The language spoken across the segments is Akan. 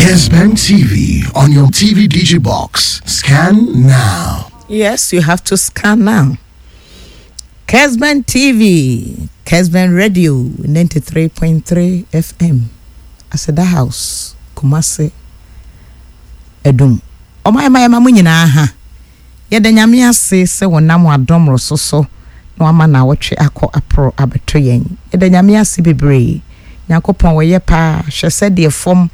Kesben TV on your TV DG box. Scan now. Yes, you have to scan now. Kesben TV, Kesben Radio 93.3 FM, Aseda House, Kumasi, Adum. Ɔman ma yɛma mo nyinaa ha. Yɛda Nyame ase sɛ wɔnam adom mmoroso so na wama naawɔtwe akɔ aporo abɛto yɛn. Yɛda Nyame ase bebree. Nyankopɔn wɔyɛ paa. Hwɛ sɛdeɛ fam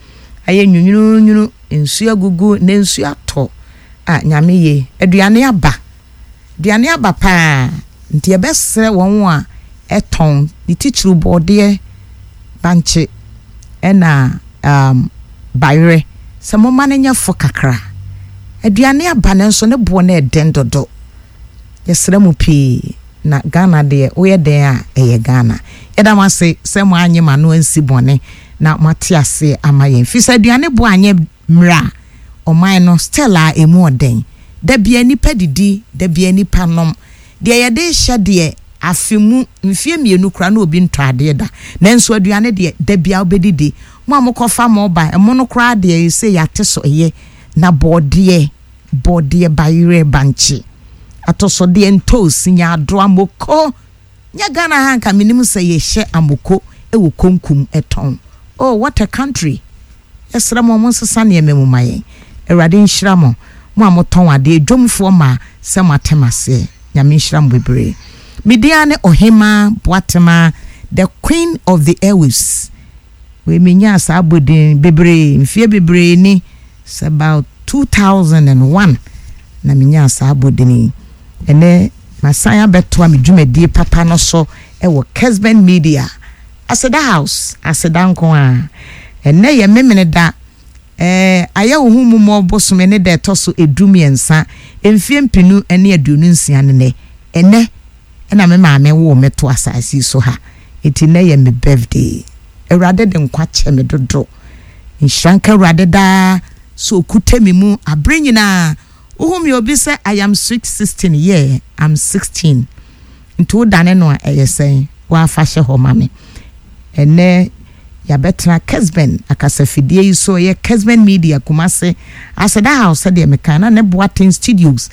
ayɛ nwunwununwunu, nsuo agugu, na nsuo atɔ. Ah, Nyame ye. Aduane aba. Aduane aba paa. Nti yɛbɛsrɛ wɔn a ɛtɔn, ne titiriw bɔɔdeɛ, bankye, ɛna um, bayerɛ, sɛ momma no nyɛ fo kakra. Aduane aba nanso ne boɔ no ɛden dodo. Yɛsrɛ mo pii na Ghana deɛ woyɛ dɛn a ɛyɛ Ghana. Yɛda mo ase sɛ mo anye mo ano ansi bɔne na moate aseɛ ama yɛn. Firi sɛ aduane boɔ anyɛ mmerɛ a, ɔman no still a ɛmu ɔden. Da biara nnipa didi, da biara nnipa nom. Deɛ yɛde rehyɛ deɛ, afe mu, mfeɛ mmienu koraa na obi ntɔ adeɛ da. Nanso aduane deɛ, da biara wobɛdidi. Mo a mokɔfa mo ba, ɛmo no koraa deɛ seesei yɛate so, ɛyɛ. Na bɔɔdeɛ, bɔɔdeɛ, bayerɛ, bankye, atɔsɔdeɛ, ntoosi, nyaadoa, moko. Nyɛ Ghana ha nka menim sɛ yɛhyɛ amoko wɔ konkum tɔn. Oh, what a country! Yɛsrɛ mo, monsesa nneɛma mu ma yɛn. Awurade nhyira mo, mo a motɔn adeɛ, dwomfoɔ mmaa, sɛ moate m'aseɛ. Nyame nhyira mo bebree. Me din ara ne Ohemaa Boatemaa, the queen of the airwaves. Wei menyaa saa abodin bebree, mfeɛ bebree ni, it's about 2001 na menyaa saa abodin yi. Ɛnɛ masan abɛtoa me dwumadie papa no so wɔ Kesben Media, Aseda House, Aseda nko ara. Ɛnɛ yɛ Memeneda, ɛɛ ayɛ wo ho mmomɔ bosome ne da ɛtɔ so 13, mfeɛ 2026 ne nɛ. Ɛnɛ ɛna me maame woo me to asase yi so ha, enti nnɛ yɛ me birthday. Awurade de nkwa kyɛ me dodo. Nhyira nka Awurade daa sɛ ɔkuta me mu aberɛ nyinaa. Wohu me obi sɛ I am sweet 16, yeah, I'm 16. Nti wodane no a ɛyɛ sɛn? Woafa hyɛ hɔ ma me. Ɛnnɛ yɛabɛtena Kesben akasafidie yi so, ɛyɛ Kesben Media Kumasi, Aseda House sɛdeɛ meka na ne Boateng Studios.